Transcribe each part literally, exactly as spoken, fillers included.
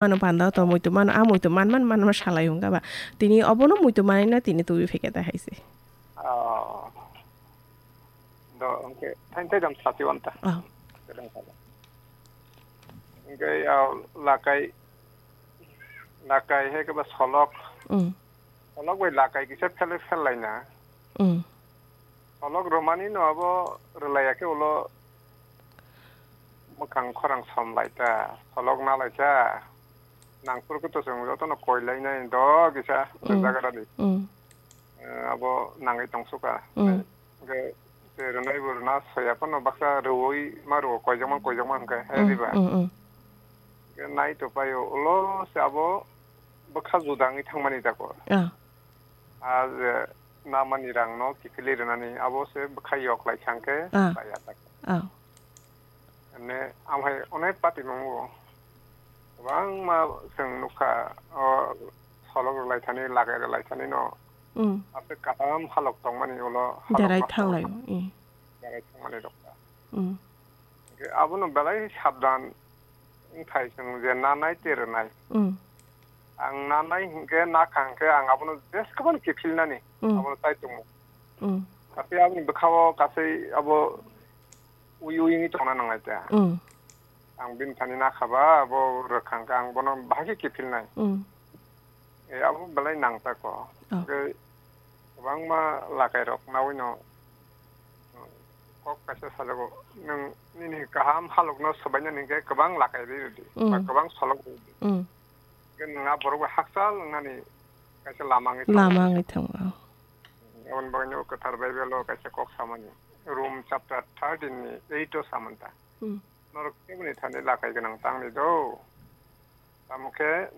mano panda to muitu mano, a muitu man man man ma salai hwnka ba. Tini obono muitu manai na tini tubi pheke ta hai se. Oh. Do, hwnkhe thain thai jam sati wanta. Oh. Kedang sala. Hwnkhe, ah, lakai, lakai hai khe ba solok. Mm. Solok bai lakai kisa phel phel laina. Mm. Solok romani no abo rwlaiya khe ulo mwkhang khorang som lai ta. Solok na lai ta. Nang phuru khe to chwng jotono koi lainai do kisa Mm. jaga rani. Mm. Eh, abo nangwi tong suka. Mm. Hwnkhe se rwnai bo rwna soya phano baksa rwui ma rwo koijakma koijakma hwnkhe, he Mm, diba? Mm, mm. Hwnkhe nai to paio, ulo se abo bwkha juda wngwi thangmani tako. Ah. A je namani rangno kiphilwi rwnani abo se bwkha yok lai kha hwnkhe Ah. paiya tako. Ah. Ene, amhai onek patimungo kwbangma chwng nukha, o solok rwlaithani, lagai rwlaithani no. Mm. Aswk kaham halok tongmani ulo halok Derai no thanglai, mm. Derai thangmani rokha. Mm. Hwnkhe abono belai sabdan wngthai chwng je nanai tei rwnai. Mm. Ang nanai hinkhe nakha hinkhe ang abono jeskabani kiphilnani, Mm. Abono tai tongo. Mm. Tapi aboni bwkhao kasai abo ui ui wngwi tongna nanglai ta. Mm. Ang bini thani nakha ba, abo rwkha hwnkhe ang bono bahai khe kiphilnai. Mm. E, abo belai nangta ko. Oh. Hwnkhe kwbangma lakai rok nawino kok kaisa sajago, nwng nini kaham halokno swbainani hwnkhe kwbang lakai rwi rwdi, ba Mm. kwbang solok rwi rwdi. Mm. Hwnkhe nwng a borok bai hakchal wngnani kaisa lama wngwi thango. Lama wngwi thango, oh. Aboni bagwino Kwthar Bible o kaisa kok samani, Rom chapter thirteen ni eight o samani ta. Hmm. Norok keboni thani lakai gwnang tangni do? Tamo khe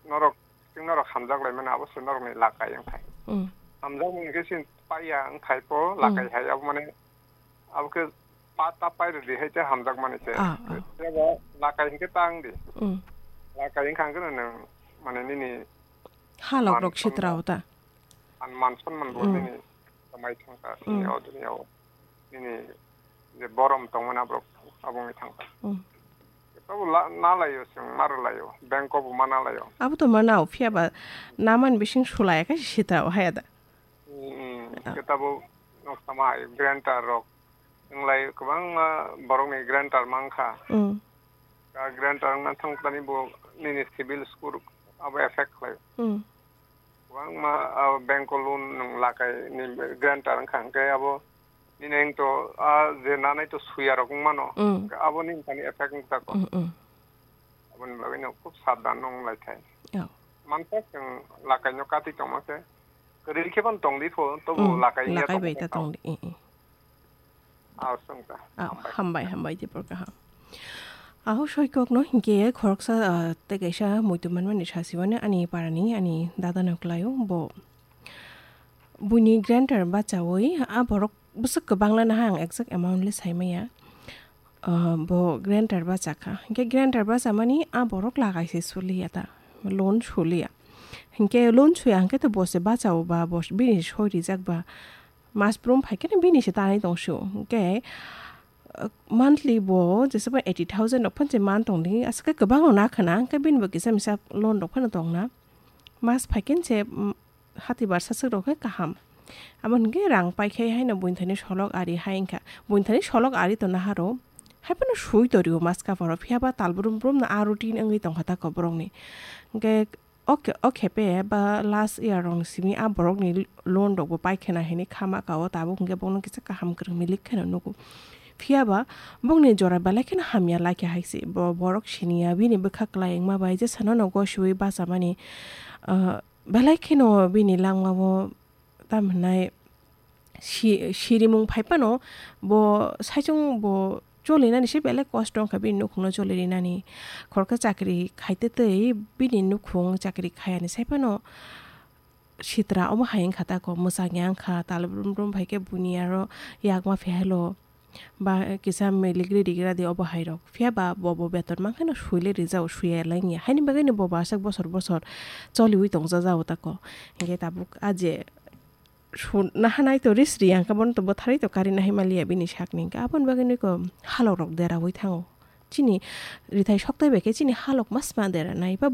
norok, chwng norok hamjak lai mano, abo se norokni lakai wngthai. Hmm. Hamjakmung khe chini paiya wngthai po, Hmm. Lakai hai, abo mane abo khe pa ta pai rwdi hai tei hamjakmani se. Ah, ah. Tei bo lakai hinkhe ta wngdi. Mm. Lakai wngkha hwnkhe nwng mane nini Halok rok man sitra sonna o ta. An man sonna bo Mm. Nini kwmai thangkha, Mm. Nini o duniya o. Nini je borom tongmani aborok abo wngwi thangkha. Mm. Abo la-, na laio chwng, ma rw laio, bank o bo ma na laio. Abo to ma nao, phiya ba naman bising sulai khe sitra o haya da. Mm, mm. Ah. Khe tabuk nok sama hai granter rok. Nwng lai kwbangma borokni granter mankha. Mm. A granter wngna thangkhlani bo nini civil score abo effect khlai. Mm. Kwbangma, ah, bank o loan nwng lakai ni granter wngkha hwnkhe abo nini wngto, ah, je nanai to suya rok wngmano. Mm. Abo nini thani effect wngkha ko. Mm, mm. Aboni bagwi no khub sabdan no wng lai thai. Oh. Mansa chwng lakai no kati tongma khe, kwrwi khe phano tong di pho, tobo Mm, lakai ya lakai tong bai ta kha. Tong di, eh, eh. Ah, song ta. Ah, hambai. Hambai, hambai, Dipor kaham. Aho soi kok no hinkhe khoroksa, ah, tei kaisa muitu manmani sasiwani ani parani, ani dada no kwlaio, bo buini granter bachaui, ah, borok bwswk kwbang lana ha ang exact amount le sai maya. Ah, bo granter bachakha. Hinkhe granter bachamani ah borok lagai se suliya ta, loan suliya. Hinkhe loan suya hinkhe to bo se bachao ba, bo bini soi rijak ba, mas brum phai khe bini se tanai tong sio. Hinkhe, ah, monthly bo jesa ba eighty thousand rok phan se man tong di, aswk khe kwbang rok na khna, hinkhe bini bo kisa misa loan rok phano tong na. Mas phai khe se, mm, hati barsa swk rok khe kaham. Abo hwnkhe rang pai khe haino buini thani solok ari hai wngkha. Buini thani solok ari tongna haro. Hai phano sui torio maska phoro. Phiya ba tal brum brum no a routine wngwi tongkha ta ko borokni. Hwnkhe o khe, o khe pe ba last year rokni simi a borokni loan rok bo pai khena hinwi khama ka o tabuk hwnkhe bono kisa kaham kwrwng milik kheno nugo. Phiya ba bongni jora belai kheno hamya lai khe hai se. Bo, borok siniya bini bwkha kwlai wngma bai jesa no no gosiui bachamani, ah, Belai kheno bini langmao tam hwnai si-, sirimung phai phano bo saichung bo cholinani se belai kosto wngkha bini nukhungno cholirinani. Khoroksa chakri khaite tei bini nukhung chakri khayani sai phano sitra omo hai wngkha tako, mwchangya wngkha, tal brum brum phai khe buini aro yakma phihailo. Ba kisa milik ri rigra di obo hai rok. Phiya ba bo, bo beton mankhe no sui le rijao, suiya lai wngya. Haini bagwi no bo bo aswk bosor bosor choliui tongja jao tako. Hinkhe tabuk a je su-, naha nai to ris ri yang khe bono to bwtharwi to kari nahai maliya bini sakni hinkhe aboni bagwi no eko halok rok deraui thango. Chini rithai sokthai bai khe chini halok masma dera nai ba